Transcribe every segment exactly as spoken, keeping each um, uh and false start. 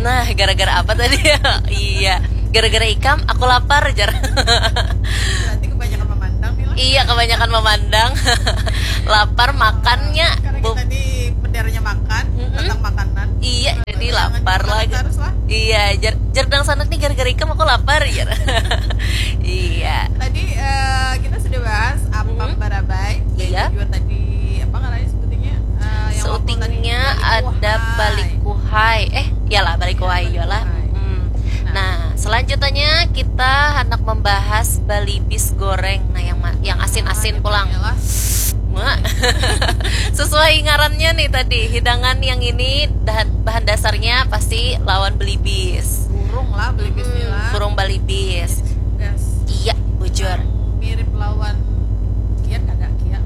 Nah, gara-gara apa tadi? Iya, gara-gara ikam aku lapar, jar. Berarti kebanyakan memandang nih lah. Iya, kebanyakan memandang. Lapar makannya. Karena Bu- kita di benderanya makan, Mm-mm. tentang makanan. Iya, jadi Jangan lapar makan lagi. Terus lah. Iya, jar, jar dangsanak nih, gara-gara ikam aku lapar, jar. Iya. Tadi eh, kita sudah bahas apa Mm-mm. barabai. Dan Iya. Juga tadi apa ngarannya sebutingnya? Eh, yang waktu tadi Seutingnya ada balikuhai. balikuhai. Eh, iyalah, balikuhai, Iya, iyalah. balikuhai. Hmm. Nah. Nah, selanjutnya kita hendak membahas balibis goreng. Nah, yang ma- yang asin-asin Ah, pulang. Iyalah. Mak. Sesuai ngarannya nih tadi, hidangan yang ini bahan, bahan dasarnya pasti lawan belibis. Burung lah, belibis Hmm, lah. Burung balibis. Gas. Iya, bujur. Mirip lawan kia kada kia.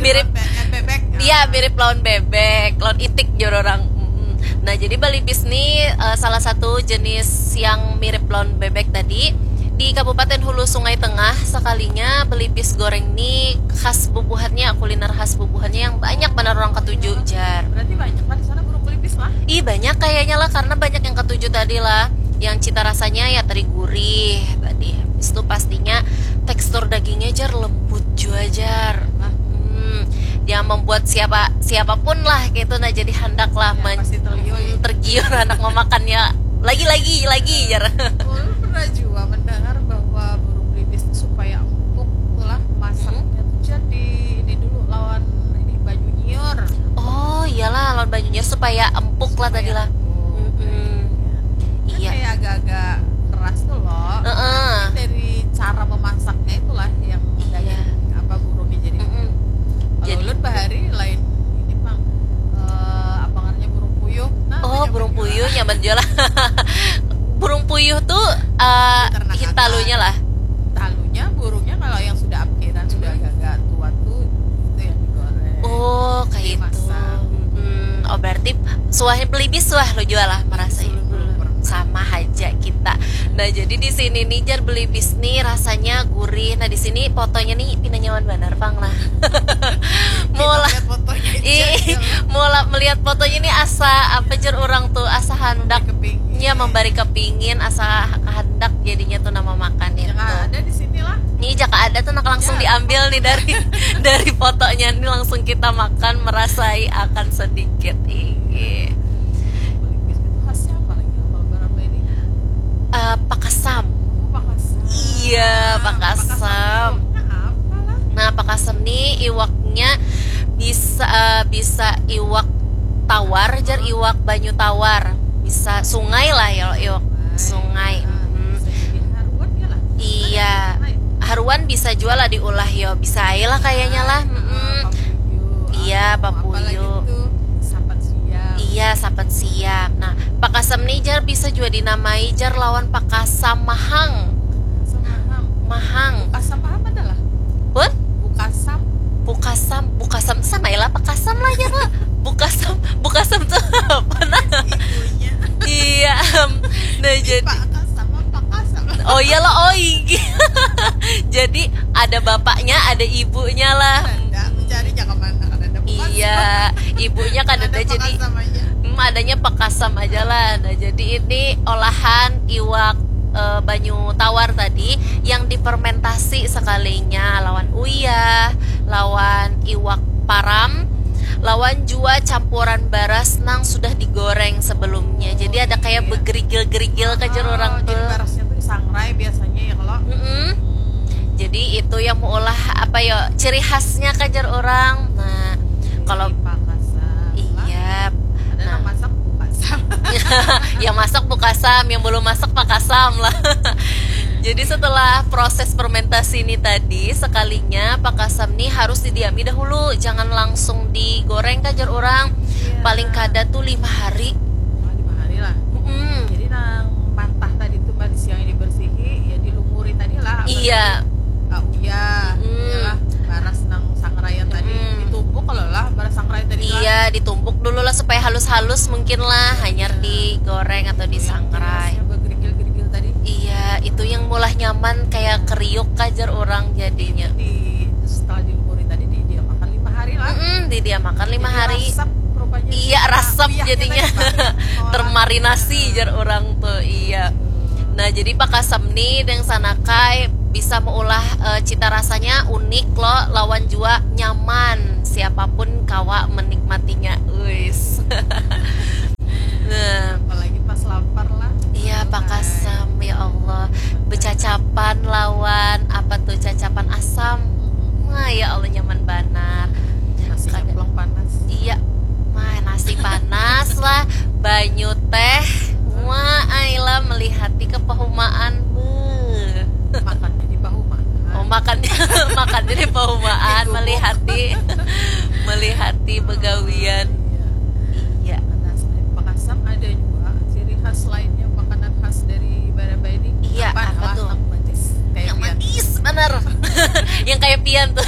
Mirip. Lawan be- eh, bebek. Iya, mirip lawan bebek, lawan itik, jar orang. Mm-mm. Nah, jadi balibis nih eh, salah satu jenis yang mirip lawan bebek tadi. Di Kabupaten Hulu Sungai Tengah, sekalinya belibis goreng nih khas bubuhannya, kuliner khas bubuhannya yang banyak banar orang katuju, jar. Berarti banyak lah di sana burung belibis lah. Ih, banyak kayaknya lah, karena banyak yang katuju tadi lah. Yang cita rasanya ya teri gurih tadi. Habis itu pastinya tekstur dagingnya, jar, lembut jua, jar. Hmm, yang membuat siapa siapapun lah gitu, nah, jadi handak lah Ya, men- pasti tergiur, ya. Hmm, tergiur anak memakannya lagi, lagi, lagi, jar. Ulun pernah juga mendengar bahwa burung belibis itu supaya empuk tuh lah masaknya tuh jadi ini dulu lawan ini banyu nyiur. Oh, iyalah, lawan banyu nyiur supaya empuk lah tadi lah. Empuk. Mm-mm. Kan Iya. Kayak agak-agak keras tuh loh. Heeh. Tapi dari cara memasaknya itulah yang Iya. daging apa burungnya jadi. Mm-mm. Kalau Jadi ulun bahari lain ini pang eh, apa ngarannya burung puyuh. Nah, Oh, banyak burung juga. Puyuh nyaman jual. Burung puyuh tuh eh, Peternakan. Hintalunya lah. Talunya burungnya kalau yang sudah ampiran sudah agak-agak tua tuh itu yang digoreng. Oh, kayak itu. Dimasak. Hmm, oh, berarti suahnya belibis suah lo jual lah merasa. Belum, belum pernah. Sama aja kita. Nah, jadi di sini nih, jar, belibis nih rasanya gurih. Nah, di sini fotonya nih pina nyaman banar pang lah. Mau lah. Lihat fotonya aja, Ih, ya. Mau lah melihat fotonya nih asa apa, jar, orang tuh asa handaknya Kepingin. Membari kepingin, asa kehendak jadinya tuh nama makan itu. Yang ada di sini lah. Nih, jaka ada tuh nak langsung Ya. Diambil nih dari dari fotonya nih, langsung kita makan, merasai akan sedikit. Iya. Belibis itu khasnya apa lagi kalau berapa ini? Eh, pakasam. Oh, pakasam. Iya, pakasam. Pakasam itu apa lah? Nah, pakasam nih iwaknya bisa eh, bisa iwak tawar, jar, iwak banyu tawar. Bisa sungai lah ya, iwak sungai. Ah, Mm. Bisa jadi haruan ya lah. Iya. Haruan bisa jual lah diulah, yo, bisa aja lah kayaknya lah. Mm-mm. Papuyu, Iya, anu, apa lagi papuyu. Tuh? Sapat siam. Iya, sapat siam. Nah, pakasam nih, jar, bisa juga dinamai, jar, lawan pakasam mahang. Pakasam mahang. Mahang. Pakasam apa adalah? What? Bukasam. Bukasam, bukasam sama lah pakasam lah, ya, Pak. Bukasam, bukasam tuh apa, nah? Ibunya. Iya. Nah, jadi Pakasam apa pakasam? Oh, iya lah, oh, iya. Jadi ada bapaknya, ada ibunya lah. Nanda mencari jaka mana kan ada pakasam. Iya, ibunya kan ada, jadi Pakasam aja. Hmm, adanya pakasam aja lah. Nah, jadi ini olahan iwak eh, banyu tawar tadi yang difermentasi sekalinya lawan uyah, lawan iwak param, lawan jua campuran baras nang sudah digoreng sebelumnya. Jadi ada kayak Iya. Begerigil-gerigil, kajar Oh, orang jadi tuh. Barasnya tuh disangrai biasanya ya kalau. Mm-mm. Jadi itu yang meulah apa ya, ciri khasnya, kajar orang. Nah, kalau Pakasam. Iya. Ada Nah. Yang masak pakasam. Yang masak bukasam, yang belum masak pakasam lah. Jadi setelah proses fermentasi ini tadi, sekalinya pakasam nih harus didiami dahulu, jangan langsung digoreng, kajar orang. Iya. Paling kada tuh lima hari. Oh, lima hari lah. Mm-mm. Jadi nang mantah tadi tuh pada siang ini bersihi, ya dilumuri tadi lah. Apa Iya. Tadi? Ah, uyah, Mm. iyalah, baras nang sangraian tadi Mm. Ditumbuk kalau lah baras sangrai tadi lah. Iya, ditumbuk dulu lah supaya halus-halus mungkin lah, hanyar digoreng atau disangrai. Yang begerigil-gerigil tadi. Iya, itu yang meulah nyaman kayak kriuk, kajar orang jadinya. Di setelah dilumuri tadi di dia makan lima hari lah. Mm-mm, didiamakan lima Jadi hari. Resep rupa Iya, rasam jadinya. Termarinasi jar orang tuh, iya. Nah, jadi pakasam nih deng sanakai bisa meulah eh, cita rasanya unik loh, lawan jua nyaman. Siapapun kawa menikmatinya. Uis. Nah, Apalagi pas lapar lah. Iya, pakasam, ya Allah. Becacapan lawan apa tuh, cacapan asam. Wah, ya Allah, nyaman banar. Nasi Kada- nyemplung panas. Iya, mah nasi panas lah, banyu teh. Wah, ai lah, melihati kepahumaan. Beuh. Makannya di pahumaan. Oh, makannya makannya di pahumaan, Di gubuk. Melihati melihati begawian. Iya. Nah, selain pakasam ada juga ciri khas lainnya, makanan khas dari Barabai ini. Iya, Apaan? apa Wah, tuh? Yang manis. Kayak Yang pian. Manis bener. Yang kayak pian tuh.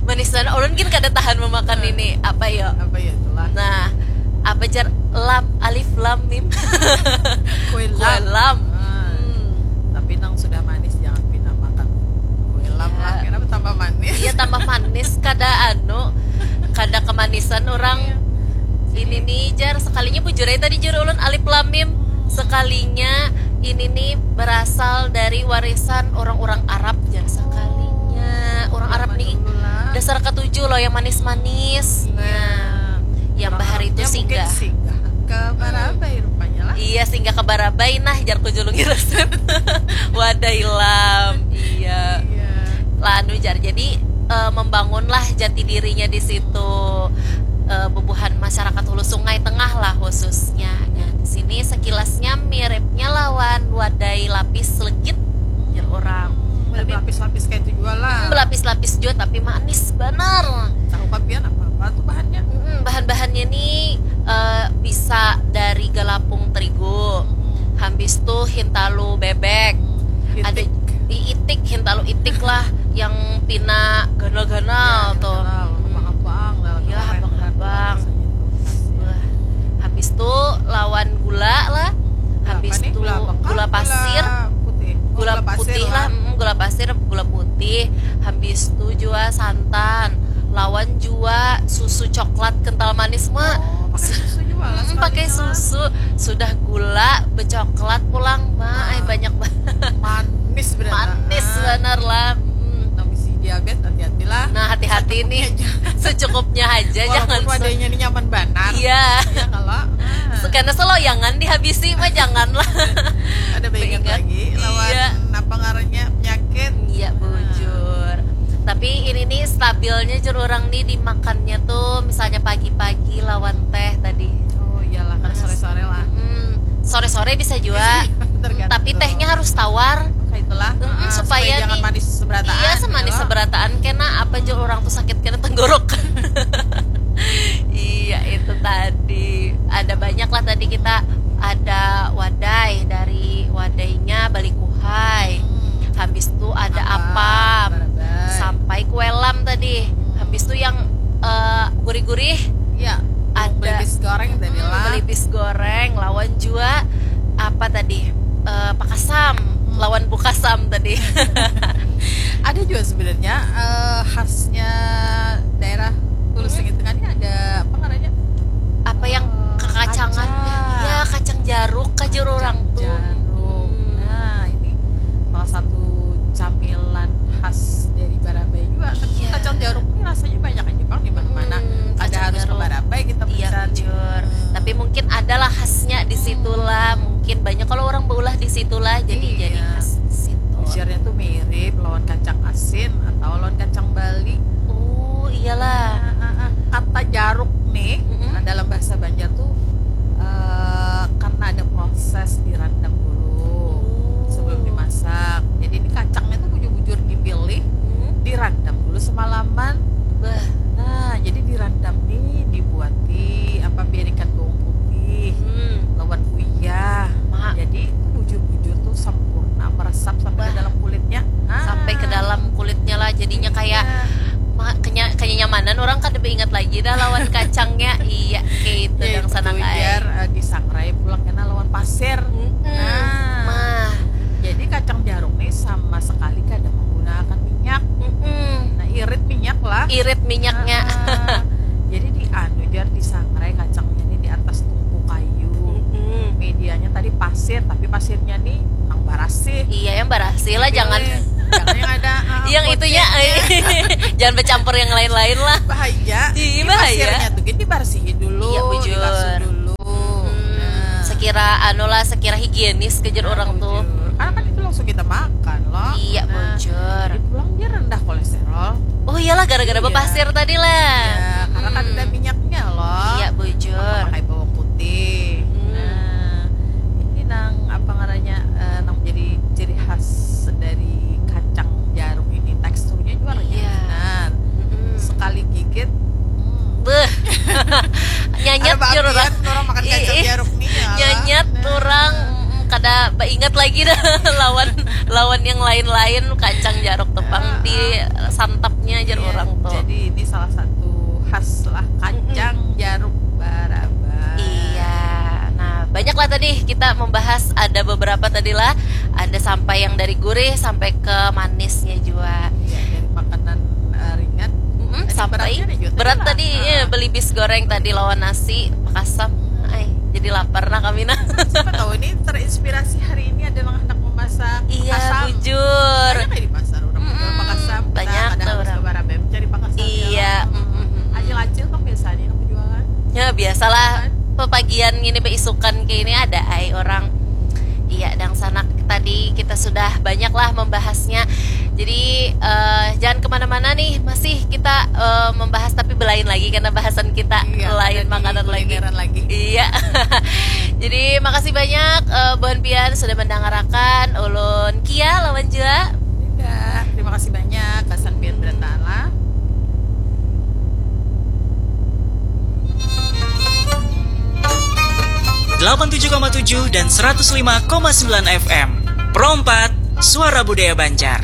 Manis banget. Ulun gin kada tahan memakan ini. Apa ya? Apa ya itulah? Nah, apa jar, lam, alif lam mim. Kue Kue lam. Lam. Ah. Hmm. Tapi nang sudah manis jangan pina makan. Kue lam lah, Iya. Kenapa tambah manis? Iya, tambah manis, kada anu, kada kemanisan orang. Ini nih jar, sekalinya bujur aja tadi jar ulun, alif lam mim. Sekalinya ini nih berasal dari warisan orang-orang Arab jar, sekalinya. Orang Arab nih dasar ketujuh loh, yang manis-manis. Nah, yang bahari itu singgah. Singgah ke Barabai rupanya lah. Iya, singgah ke Barabai nah, jar ku julungi resep. Wadai lam. Iya. Lah anu jar, jadi eh, membangunlah jati dirinya di situ. Eh, bubuhan masyarakat Hulu Sungai Tengah lah khususnya. Nah, di sini sekilasnya miripnya lawan wadai lapis legit, jar orang. Tapi Berlapis-lapis kayak itu juga lah. Berlapis-lapis juga, tapi manis banar. Tahu kapian apa apa tuh bahannya? Mm-mm, bahan-bahannya nih eh, bisa dari galapung terigu, habis tuh hintalu bebek, ada Itik. Itik, hintalu itik lah, yang pina ganal-ganal tuh. Abang-abang lah. Iya, abang-abang. Wah, habis tuh lawan gula lah. Habis Apa nih? tuh Gula apa? Gula pasir. Gula putih. Oh, Gula putih lah, mm, gula pasir, gula putih. Habis tuh jua santan. Lawan jua susu coklat kental manis mah. Oh, pakai susu juga lah. Mm, pakai susu, sudah gula becoklat pulang mah, ai banyak banget. Manis benar. Manis benar lah. Mm. Tapi si diabetes hati-hatilah. Nah, hati-hati nih. Secukupnya aja, jangan Walaupun se- wadahnya ini nyaman banar. Iya. Ya kalau ah, Karena seloyangan dihabisi mah janganlah. Ada ingat Ingat. Lagi lawan Iya. Apa ngarannya penyakit. Iya, bujur. Tapi ini nih stabilnya jar orang nih dimakannya tuh misalnya pagi-pagi lawan teh tadi. Oh iyalah, kan sore-sore lah. Hmm, sore-sore bisa juga. Tergantung. Tapi tehnya harus tawar. Kayak itulah. Mm-mm, Ah, supaya jangan nih- manis seberataan. Iya, semanis Ya. Seberataan kena apa aja orang tuh sakit kena tenggorokan. Iya, itu tadi. Ada banyak lah tadi kita, ada wadai, dari wadainya Balikuhai. Habis itu ada apam. Barabai. Sampai kue lam tadi. Habis itu yang eh, gurih-gurih Ya. Ada. Belibis goreng tadi Hmm, lah. Belibis goreng lawan jua apa tadi? Eh, pakasam lawan bukasam tadi. Ada juga sebenarnya eh, khasnya daerah Hulu Sungai Tengah ini ada apa ngarannya? Apa yang Eh, kekacangan? kacang. Ya, kacang jaruk aja orang tuh. Jaruk. Hmm. Nah, ini salah satu camilan khas dari Barabai juga. Tapi Iya. Kacang jaruk ini rasanya banyak aja bang di mana-mana. Hmm, Ada kacang harus ke jaruk. Barabai kita Iya, mencari. Bujur. Tapi mungkin adalah khasnya di situlah. Mungkin banyak kalau orang beulah di situlah, jadi Iya. Jadi khas di situ. Bujurnya tuh mirip lawan kacang asin atau lawan kacang Bali. Oh, iyalah. Nah, ah, ah. Kata jaruk nih Mm-mm. dalam bahasa Banjar tuh eh, karena ada proses dirandam dulu Oh. sebelum dimasak. Jadi ini kacangnya tuh bujur-bujur dipilih, Hmm. Dirandam dulu semalaman. Bah. Nah, jadi dirandam nih dibuati apa, pian ikan bawang putih Hmm. lawan uyah. Ma. Jadi itu bujur-bujur tuh sempurna meresap sampai ke Bah. Dalam kulitnya. Ah. Sampai ke dalam kulitnya lah, jadinya kayak Iya. ma- kenya- kenyamanan orang kada beingat lagi dah lawan kacangnya. Iya, kayak itu Ya, yang itu sana biar eh, disangrai pulang kena lawan pasir. Mm-mm. Nah, Mah. Jadi kacang jaruk nih sama sekali kada menggunakan minyak. Mm-mm. Nah, irit minyak lah. Irit minyaknya. Ah, jadi di anu jar di pasirnya nih nang barasih. Iya, yang barasih lah, jangan Jangan yang ada uh, yang itunya kucingnya. Jangan bercampur yang lain-lain lah. Bahaya. Iya, Ini bahaya. Pasirnya tuh gini dibarsihi dulu, Iya, bujur. Dibasuh dulu. Hmm, Nah. Sekira anu lah, sekira higienis kejar orang tuh. Bujur. Karena kan itu langsung kita makan loh. Iya, Nah, bujur. Jadi pulang dia rendah kolesterol. Oh iyalah, gara-gara Iya. Bapasir tadi lah. Ya, karena kan Hmm. Ada minyaknya loh. Iya, bujur. Pakai bawang putih. Hmm. Nah, ini nang apa ngarannya eh, nang menjadi ciri khas dari kacang jarum ini, teksturnya juga renyah Iya. benar. Mm-mm. Sekali gigit, hmm, Beuh. Nyanyat ada jur orang. Bagian orang makan kacang Ih, jarum nih ya. Nyanyat Nah. Orang mm, kada baingat lagi dah lawan lawan yang lain-lain, kacang jaruk tepang Ah, di santapnya jar Iya, orang tuh. Jadi ini salah satu khas lah kacang jarum barabas. Iya. Nah, banyaklah tadi kita membahas, ada beberapa tadi lah, ada sampai yang dari gurih sampai ke manisnya juga. Ya, dari makanan eh, ringan. Mm-mm, Tadi sampai beratnya ada juga berat lah. Tadi, Ah. Ya, beli bis goreng tadi lawan nasi pakasam. Ay, jadi lapar nah kami nah. Siapa tahu ini terinspirasi hari ini ada yang hendak memasak Iya, pakasam. Bujur. Banyak ya di pasar orang Mm-mm, jual pakasam. Banyak Nah, ada tuh harus orang. Ke Barabem cari pakasam. Iya, mm-mm. Acil-acil kan biasanya yang jualan. Ya biasalah, pepagian gini beisukan kayak ini ada ai orang. Iya, dangsanak, tadi kita sudah banyak lah membahasnya. Jadi eh, jangan kemana-mana nih, masih kita eh, membahas tapi belain lagi karena bahasan kita Iya, lain ada di makanan lagi. Kulineran lagi. Iya. Jadi makasih banyak eh, buhan pian sudah mendengarakan ulun Kia lawan juga. Tidak. Terima kasih banyak. Kesan biar bertahan lah. Delapan tujuh koma tujuh dan seratus lima koma sembilan F M. Pro empat, Suara Budaya Banjar.